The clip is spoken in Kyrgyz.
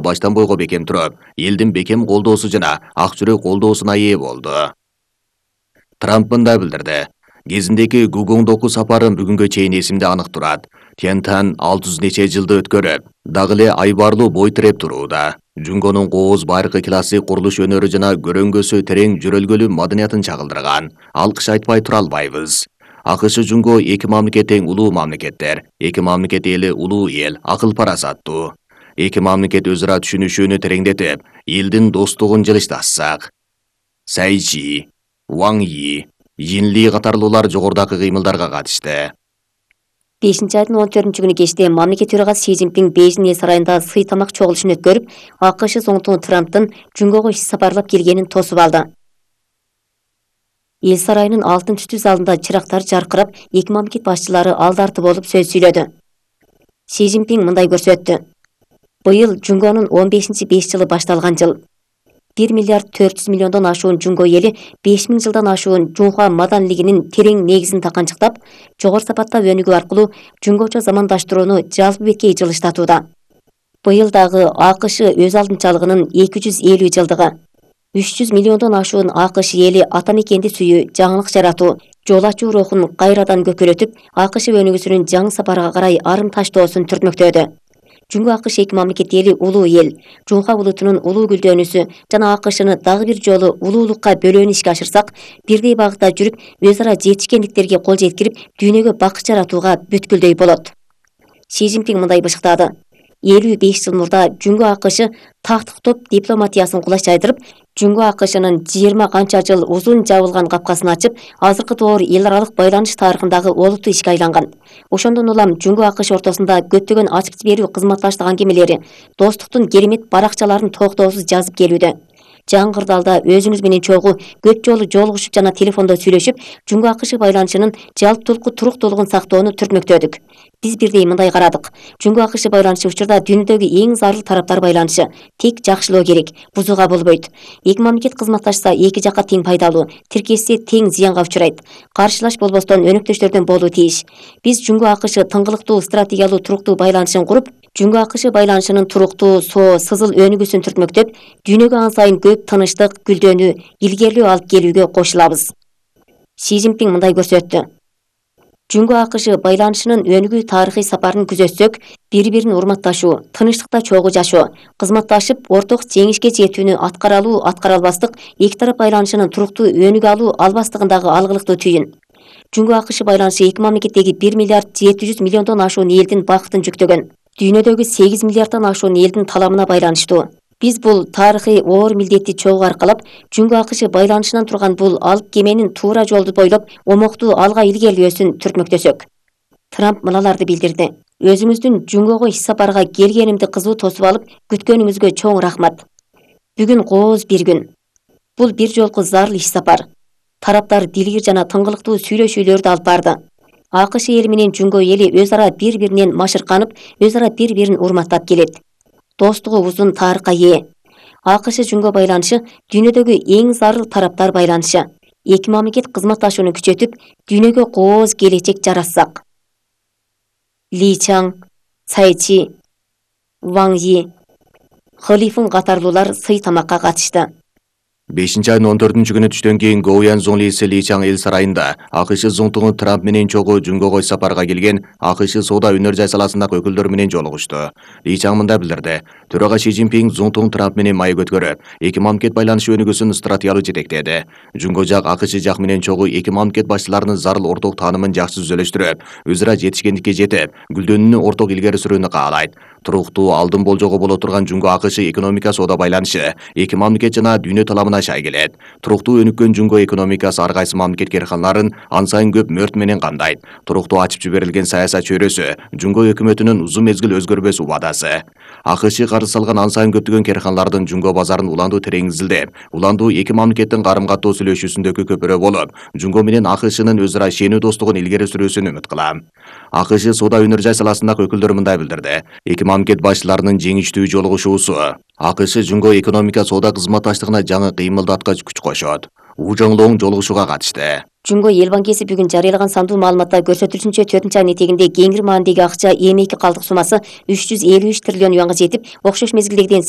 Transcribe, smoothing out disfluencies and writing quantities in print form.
баштан бойго бекем туруп, элдин бекем колдоосу жана ак жүрөк колдоосуна ээ болду. Трамп мындай билдирди. Кезиндеги Гугуңдогу сапарым бүгүнгө чейин эсимде анык турат. Тентан 600 нече жылды өткөрүп, дагы эле айбарлуу бой тиреп турууда. Жунгонун кооз байыркы классик курулуш өнөрү жана көрөңгөсү терең жүрөлгөлүү маданиятын чагылдырган. Алкыш айтпай тура албайбыз. АКШ Жунго эки мамлекет тең улуу мамлекеттер. Эки мамлекет эли улуу эл, акыл парасаттуу. Эки мамлекет өз ара түшүнүшүүнү тереңдетип, элдин достугун жылыштатсак. Сайчи, Ван Yi, Йинли катарлуулар жогорудагы кыймылдарга катышты. 5-айдын 14-күнү кечте мамлекет төрагасы Си Цзиньпин Бейжиң эл сарайында сый тамак чогулушун өткөрүп, АКШ Зоңтун Трамптын Жунгого иш сапарлап келгенин тосуп алды. Эл сарайынын алтын түстүү залында чырактар жаркырап, эки мамлекет башчылары алды-арты болуп сөз сүйлөдү. Си Цзиньпин мындай көрсөттү. Быйыл Жунгонун 15-5 жылы башталган жыл. 1 миллиард 400 миллиондон ашуун Жунго эли 5000 жылдан ашуун Жунхуа маданилигинин терең негизин таканчыктап, жогору сапаттап өнүгүү аркылуу Жунгочо замандаштырууну жалпы беткей жылыштатууда. Быйыл дагы АКШ өз алдынчалыгынын 250 жылдыгы. 300 миллиондон ашуун АКШ эли ата мекенди сүйүү, жаңылык жаратуу, жол ачуу рухун кайрадан көкөлөтүп, АКШ өнүгүүсүнүн жаңы сапарга карай арым таштоосун түртмөктөдү. Жунго АКШ эки мамлекет эли улуу эл, Жунхуа булутунун улуу гүлдөнүүсү жана АКШны дагы бир жолу улуулукка бөлөөнү ишке ашырсак, бирдей багытта жүрүп, өз ара жетишкендиктерге кол жеткирип, дүйнөгө бакыт жаратууга бүткүлдөй болот. Си Цзиньпин мындай бышыктады. 55 жыл мурда Жунго АКШ тактыктоп дипломатиясын кулаш жайдырып, Жунго АКШнын 20 канча жыл узун жабылган капкасын ачып, азыркы доор эл аралык байланыш тарыхындагы олуттуу ишке айланган. Ошондон улам Жунго АКШ ортосунда көптөгөн ачып берүү кызматташтык аңгемелери, достуктун керемет баракчаларын токтоосуз жазып келүүдө. Жаңы кырдаалда өзүңүз менен чогуу көп жолу жолугушуп жана телефондо сүйлөшүп, Жунго АКШ байланышынын жалптулку туруктуулугун сактоону түртмөктөдүк. Биз бирдей мындай карадык. Жунго АКШ байланышы учурда дүйнөдөгү эң зарыл тараптар байланышы. Тек жакшылоо керек, бузууга болбойт. Эки мамлекет кызматташса эки жакка тең пайдалуу, тиркешсе тең зыянга учурайт. Каршылаш болбостон өнөктөштөрдөн болуу тийиш. Биз Жунго АКШ тыңгылыктуу стратегиялуу туруктуу байланышын куруп, Жунго АКШ байланышынын туруктуу, сызыл өнүгүүсүн түртмөктөп, дүйнөгө ан сайын көп тынычтык, гүлдөнүү, илгерлөө алып келүүгө кошулабыз. Си Цзиньпин мындай көрсөттү. Жунго АКШ байланышынын өнүгүү тарыхый сапарын күзөтсөк, бири-бирин урматташуу, тынычтыкта чогуу жашоо, кызматташып, орток жеңишке жетүүнү аткара алуу, аткара албастык, эки тарап байланышынын туруктуу өнүгө алуу албастыгындагы алгылыктуу түйүн. Жунго АКШ байланышы эки мамлекеттеги 1 миллиард 700 миллиондон ашуун элдин бакытын жүктөгөн. Дүйнөдөгү 8 миллиарддан ашуун элдин таламына байланыштуу. Биз бул тарыхый оор милдетти чогуу аркалап, Жунго АКШ байланышынан турган бул алып кеменин туура жолду бойлоп, омоктуу алга илгерилөөсүн түртмөктөсөк. Трамп мыналарды билдирди. Өзүңүздүн Жунгого иш сапарга келгенимди кызуу тосуп алып, күткөнүңүзгө чоң рахмат. Бүгүн кооз бир күн. Бул бир жолку зарыл иш сапар. Тараптар дилгир жана тыңгылыктуу сүйлөшүүлөрдү алып барды. АКШ эли менен Жунго эли өз ара бири-биринен машырканып, өз ара бири-бирин урматтап келет. Достугу узун тарыхка ээ. АКШ Жунго байланышы дүйнөдөгү эң зарыл тараптар байланышы. Эки мамлекет кызматташууну күчөтүп, дүйнөгө кооз келечек жаратсак. Ли Чаң, Сайчи, Ван Yi, Хылифын катарлуулар сый тамакка катышты. 5-айдын 14-күнү түштөн кийин Гоуян Зонлиси Ли Чаң эл сарайында АКШ Зоңтуңу Трамп менен чогуу Жунгого сапарга келген АКШ соода өнөр жай саласындагы өкүлдөр менен жолугушту. Ли Чаң мындай билдирди. Төрага Си Цзиньпин Зоңтуң Трамп менен маек өткөрүп, эки мамлекет байланышы өнүгүүсүн стратегиялуу жетектеди. Жунго жак АКШ жак менен чогуу эки мамлекет башчыларынын зарыл орток таанымын жакшы түзөлөштүрүп, өз ара жетишкендикке жетип, гүлдөнүүнү орток илгери сүрүүнү каалайт. Туруктуу алдын болжого боло турган Жунго АКШ экономика соода байланышы эки мамлекет жана дүйнө таламына шай келет. Туруктуу өнүккөн Жунго экономикасы ар кайсы мамлекет керканларын ан сайын көп мөрт менен камдайт. Туруктуу ачып жиберилген саясат чөйрөсү Жунго өкмөтүнүн узун мезгил өзгөрбөс убадасы. АКШ карыз салган ан сайын көптөгөн керканлардын Жунго базарын уландуу терең изилдеп, уландуу эки мамлекеттин карым-каттоо сүйлөшүүсүндөгү көпүрө болуп, Жунго менен АКШнын өз ара ишенүү достугун илгери сүрүүсүн үмүт кылам. АКШ соода өнөр жай саласындагы өкүлдөр мындай билдирди. Эки мамлекет башчыларынын жеңиштүү жолугушуусу АКШ Жунго экономика соода кызматташтыгына жаңы кыймылдаткыч күч кошот. У Жоңлоң жолугушууга катышты. Жумго эл банкеси бүгүн жарыялаган сандуу маалыматта көрсөтүлүшүнчө 4-айын этегинде кеңири маанидеги акча эми 2 калдык суммасы 353 триллион юанга жетип, окшош мезгилдегиден